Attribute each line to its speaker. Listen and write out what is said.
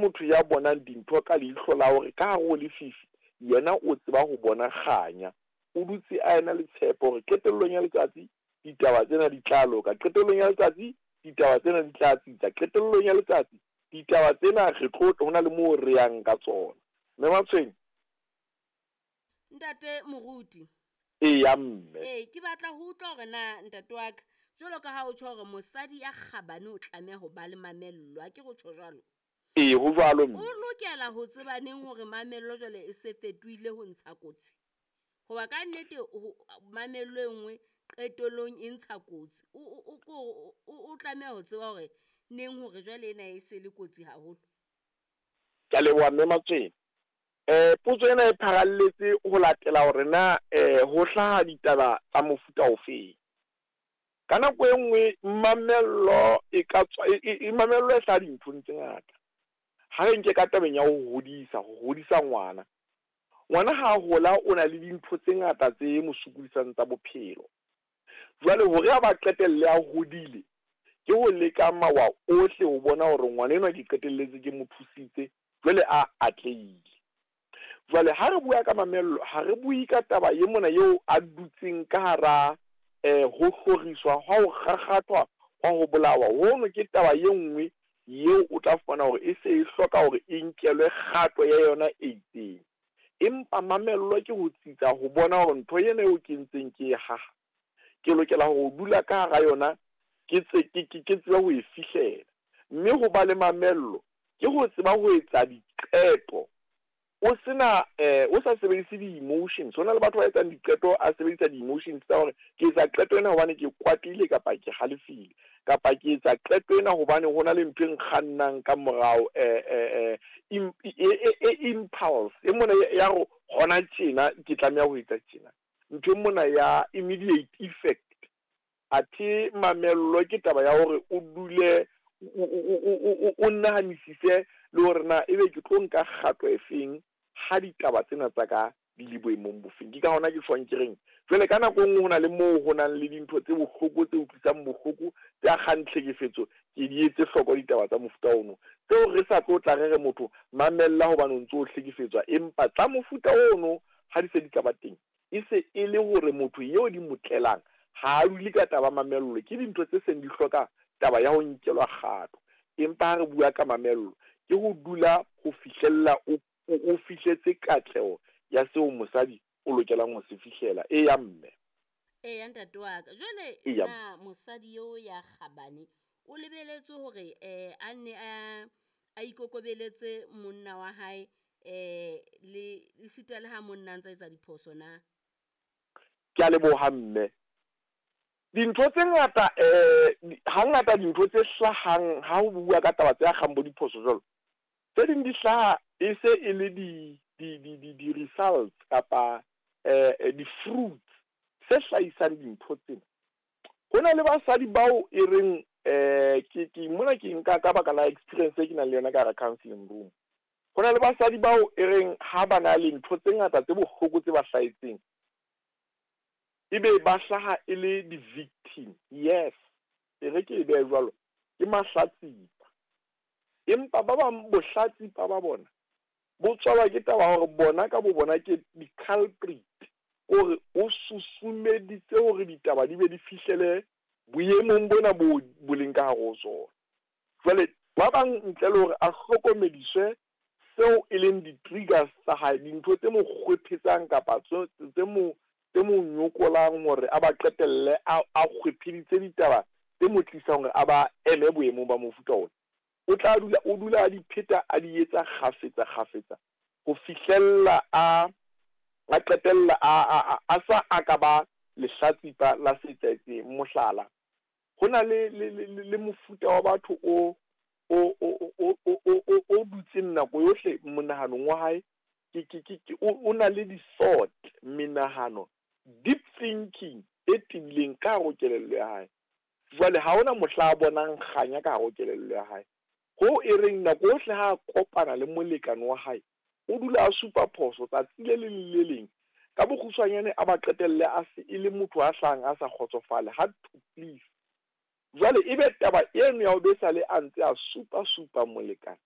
Speaker 1: motho ya bonang dintho ka leihlo la hore ka hare ho lefifi yena o tseba ho bona kganya. O dutse a ena le tshepo hore qetellong ya letsatsi ditaba tsena di tla loka, qetellong ya letsatsi ditaba tsena di tla tsitsa, qetellong ya letsatsi ditaba tsena re tlo ho na le moo re yang ka tsona. Mme Matshweng.
Speaker 2: Ntate Moruti.
Speaker 1: Eya mme.
Speaker 2: Ee, ke batla ho utlwa hore na ntate wa ka, jwalo ka ha o tjho hore mosadi ya kgabane o tlameha ho ba le mamello, ha ke re o tjho jwalo?
Speaker 1: Ee, ho jwalo mme.
Speaker 2: O lokela ho tseba neng hore mamello jwale e se fetohile ho ntsha kotsi? Hoba ka nnete mamello e nngwe qetellong e ntsha kotsi. O tlameha ho tseba hore neng hore jwale ena e se le kotsi haholo.
Speaker 1: Ke a leboha mme Matswele. Potso ena e pharalletse ho latela hore na ho hlaha ditaba tsa mofuta ofeng. Ka nako e nngwe mamello e ka tswa e mamello e hlaha dinthong tse ngata. Ha re nke ka tabeng ya ho hodisa, ho hodisa ngwana. Ngwana ha a hola o na le dintho tse ngata tse mo sokodisang tsa bophelo. Jwale hore a ba qetelle a hodile, ke ho leka mawa ohle ho bona hore ngwana enwa ke qetelletse ke mo thusitse, jwale a atlehile. Jwale ha re bua ka mamello, ha re bue ka taba ye mona eo a dutseng ka hara ho hloriswa, hwa ho kgakgathwa, hwa ho bolawa. Hono ke taba ye nngwe yeo o tla fumana hore e se e hloka hore e nkelwe kgato ya yona e itseng. Empa mamello ke ho tsitsa ho bona hore ntho ena eo ke ntseng ke e haha, ke lokela ho dula ka hara yona ke tse ke ke ke tsebe ho e fihlela. Mme ho ba le mamello ke ho tseba ho etsa diqeto o sena o sa sebedise di-emotions. Ho na le batho ba etsang diqeto a sebedisa di-emotions tsa hore ke etsa qeto ena hobane ke kwatile kapa ke halefile, kapa ke etsa qeto ena hobane ho na le ntho e nkgannang ka morao, impulse e mona ya hore hona tjena ke tlameha ho etsa tjena. Ntho e mona ya immediate effect. Athe mamello ke taba ya hore o dule o nahanisise le hore na ebe ke tlo nka kgato efeng ha ditaba tsena tsa ka di le boemong bofeng. Ke ka hona ke tjhong ke reng jwale ka nako e nngwe ho na le moo ho nang le dintho tse bohloko tse utlwisang bohloko tse akgang tlhekefetso, ke di etse hloko ditaba tsa mofuta ono tseo re sa tlo tla re re motho mamella hobane o ntso o hlekefetswa, empa tsa mofuta ono ha di se di ka ba teng e se e le hore motho eo di mo tlelang ha a dule ka taba mamello, ke dintho tse seng di hloka taba ya ho nkelwa kgato. Empa ha re bua ka mamello, ke ho dula ho fihlella o fihletse katleho ya seo mosadi o lokelang ho se fihlela. Eya mme.
Speaker 2: Eya ntate wa ka. Jwale na mosadi eo ya kgabane o lebeletswe hore a nne a ikokobeletse monna wa hae le esita le ha monna a ntsa etsa diphoso na?
Speaker 1: Ke a leboha mme. Dintho tse ngata hangata dintho tse hlahang ha ho bua ka taba tse akgang bo diphoso jwalo, tse ding di hlaha e se e le di-results kapa di-fruits tse hlahisang dintho tsena. Ho na le basadi bao e reng ke mona ke nka ka baka la experience e ke nang le yona ka hara counseling room. Ho na le basadi bao e reng ha ba na le ntho tse ngata tse bohloko tse ba hlahetseng, ebe ba hlaha e le di-victim. Yes, e re ke e behe jwalo, ke mahlatsipa. Empa ba bang bohlatsipa ba bona bo tswalwa ke taba hore bona ka bo bona ke di-culprit, hore o susumeditse hore ditaba di be di fihlele boemong bona bo boleng ka hare ho tsona. Jwale ba bang ntle le hore a hlokomediswe seo e leng di-triggers tsa hae, dintho tse mo kgwephetsang kapa tse mo nyokolang hore a ba qetelle a kgwepheditse ditaba tse mo tlisang hore a ba eme boemong ba mofuta ona, o tla dula o dula a di pheta a di etsa kgafetsa kgafetsa ho fihlella a qetella a sa a ka ba lehlatsipa la se etsahetseng. Mohlala, ho na le mofuta wa batho o dutseng nako yohle monahanong wa hae, o na le di-thought, menahano, deep thinking e tebileng ka hare ho kelello ya hae. Jwale ha hona mohla a bonang kganya ka hare ho kelello ya hae. Ho e reng nako yohle ha a kopana le molekane wa hae, o dula a supa phoso tsatsi le leng le leng. Ka bokgutshwanyane a ba qetelle a se e le motho a hlahang a sa kgotsofale, hard to please. Jwale ebe taba eno ya ho be sale a ntse a supa supa molekane,